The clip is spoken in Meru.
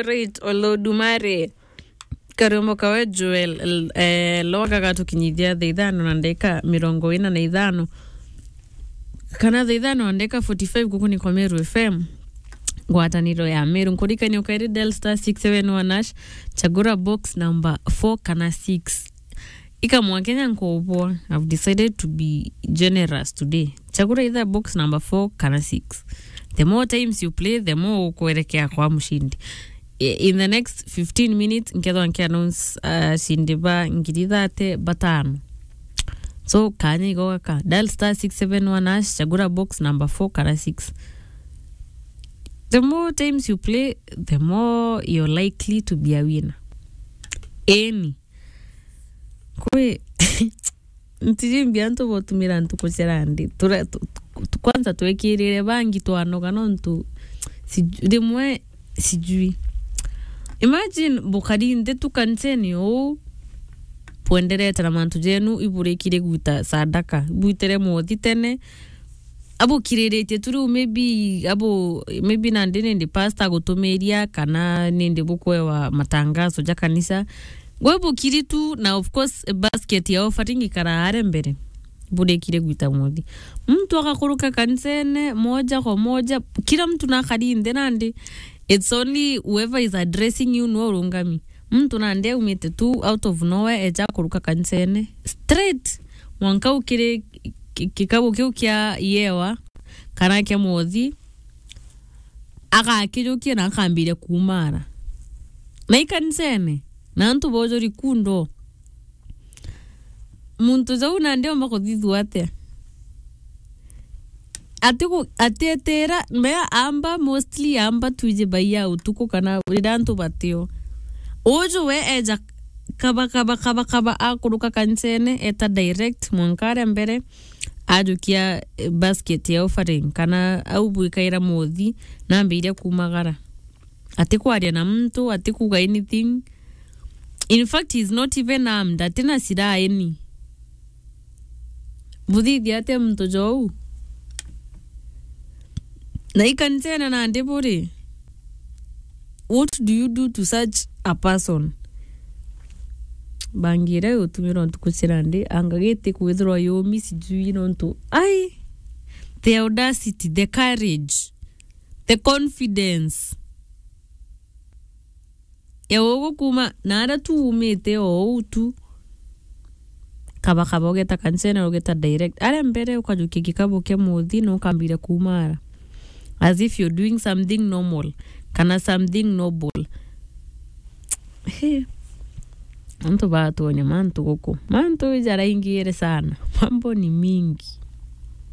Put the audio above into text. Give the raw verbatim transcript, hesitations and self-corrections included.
Right, Olodumare. Karwimbo kawe Joel, l-, eh, Lwaga gatukinyithia thaa ithano na ndagika mirongo ina na ithano. Kana thaa ithano na ndagika forty-five guku ni kwa Meru F M. Ngwataniro ya Meru. Nkurikania ukairi dial star six seven one hash, chagura box number four kana six. Ika mwa Kenya nkubwa, I've decided to be generous today. Chagura either box number four kana six. The more times you play, the more ukwerekea kwa mushindi. I-, in the next fifteen minutes, nkethwa nki announce, uh, ashindi ba ngiri thirty batano. So, kanya igo gaka. Dial star six seven one hash, chagura box number four kana six. The more times you play, the more you're likely to be a winner. Any. Kwi ntiji mbia antu botumira ntuku cia randi. Tura-, tu-, tu-, kwanza twekirire bangi twanoga nontu siju-, rimwe sijui. Imagine bukari nthi tu kanisene uu, bwenderete na mantu jenu, iburikire gwita sadaka, ibwitire mwothi tene, abukiriritie tu riu, maybe abu, maybe nandi nindi pastor agutumiria kana nindi bukwewa matangazo ja kanisa. Gwe bukiri tu na, of course, basket ya offering ikara aria mbere. Burikire gwita mwothi. Muntu agakuruka kanisene moja kwa moja, kila mtu nakari nthi nandi. It's only whoever is addressing you no urungami. Muntu nandi aumite tu out of nowhere eja kuruka kanisene. Straight. Mwanka ukiri ki-, kikabu kiu kia yewa, kana kia mwothi, agakijukia na akambiria kumara. Na ikanisene, na antu bojori kundo. Muntu jau nandi omba kuthithua atia? Atiku-, atietera, mea amba, mostly amba twiji baia utuku kana riria antu batio. Uju we eja kaba, kaba, kaba, kaba, akuruka kanisene, eta direct, mwanka aria mbere, ajukia, eh, basket ya offering, kana au bwikaira mwothi, nambiria kumagara. Atikwaria na muntu, atikuga anything. In fact, he's not even armed, atina silaha any. Buthithia atia muntu jou? Na ikanisene nandi buri? What do you do to such a person? Bangi iria yutumirwa ntuku cia nandi, anga giti kwithirwa yumi sijui nontu, ai, the audacity, the courage, the confidence. Ya ugu kuma na aria tu umite o uu tu, kaba kaba ugeta kanisene, ugeta direct. Aria mbere ukajukia gikabu kia muthi na ukambiria kumara. As if you're doing something normal, kana something noble. He. Antu batuonya mantu guku. Mantu jaraingire sana. Mambo ni mingi.